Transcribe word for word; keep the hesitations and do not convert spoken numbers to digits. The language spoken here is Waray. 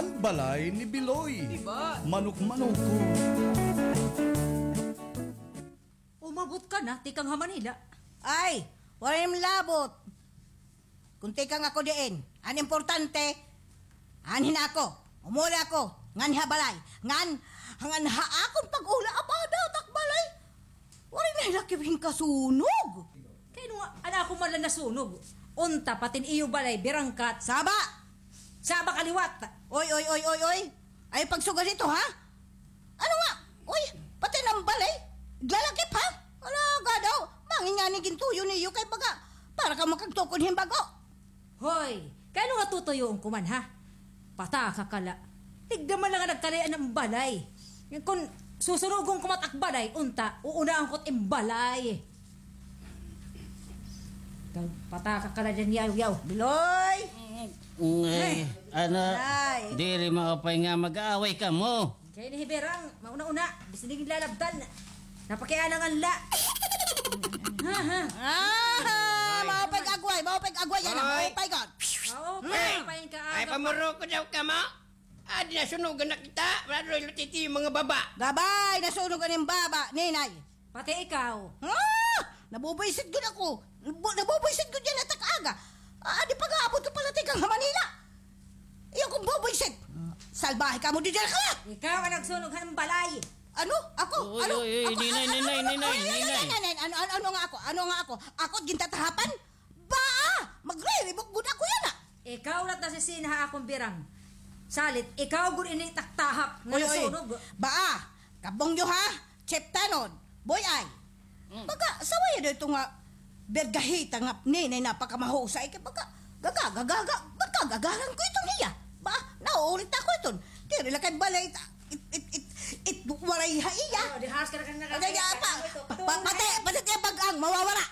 Balay ni Biloy. Diba? Manok-manok ko. Umabot ka na, tikang ha Manila. Ay, waray man labot. Kun tikang ako diin, an importante, anhi na ako, umuli ako, nganhi ha balay, ngan, ngan ha akon pag-uli, aba, daw it ak balay. Waray na hira kibing kasunog. Kay ano nga, an ako man la nasunog. Unta, pati an iyo balay, birangkat. Saba! Saba ka liwat. Oy, oy, oy, oy, oy. Ayaw pagsugad hito, ha? Ano nga? Uy, pati an balay. Lalakip, ha? Ala, gadaw. Mangin ngani gintuyo niyo kay baga para ka makagtukod hin bag-o. Hoy, kay ano nga tutuyoon ko man, ha? Pataka ka la. Tigda man la nga nagkalayo-an an balay. Ngan kun susunugon ko man it ak balay, unta, uunahon ko it im balay. Ikaw, pataka ka la dyan, yaw, yaw. Biloy! Ay, ano, Ay. Diri maupay nga mag-aaway kamo. Kay ni Hiberang, mauna-una, bisan di lalabtan. Napakianangan la. Ha, ha. Ah, maupay agway, maupay agway yana, Ay. Maupay gud. Oo, Hmm. Maupay ka, Ay, aga pa. Pamuroko daw kamo. Ah, di nasunugan na kita. Wala daw ilutiti yung mga baba. Gabay, nasunugan yung baba, ninay. Pati ikaw. Ah! Nabubwisit gud ako. Nabu-, nabubwisit gud yana it ak aga. Ah, di pag-aabot ko pala tikang ha Manila. Iyo kong bubwisit. Salbahe kamo, didira ka la! Ikaw an nagsunog han balay. Ano? Ako? Uy, Ano? uy, uy, Ako? Ninay, Ano? Ninay, Ano? Ninay, Ay, ay, Ninay. Ay, ay, ay, ano, ano, ano nga ako? Ano nga ako? Ako gintatahapan? Ba! Magriribok gud ako yana. Ikaw la it nasisina ha akon birang. Salit, ikaw gud ini it ak tahap nga Uy, uy. Nasunog. Ba! Kabong niyo ha? Chef Tanod, Boy Ay. Mm. Baga, sawaya daw ito nga bergahita nga ninay napakamahusay kay baga, gaga, gaga, gaga, baga, gagaran ko ito niya. Ba, naulit ako ito. Diri la kay balay, it, it, it, it, waray ha iya. Oh, di has ka na, ka na, Ay, ay, pa, ay, pa, pa, pati, pati kay bagang mawawala.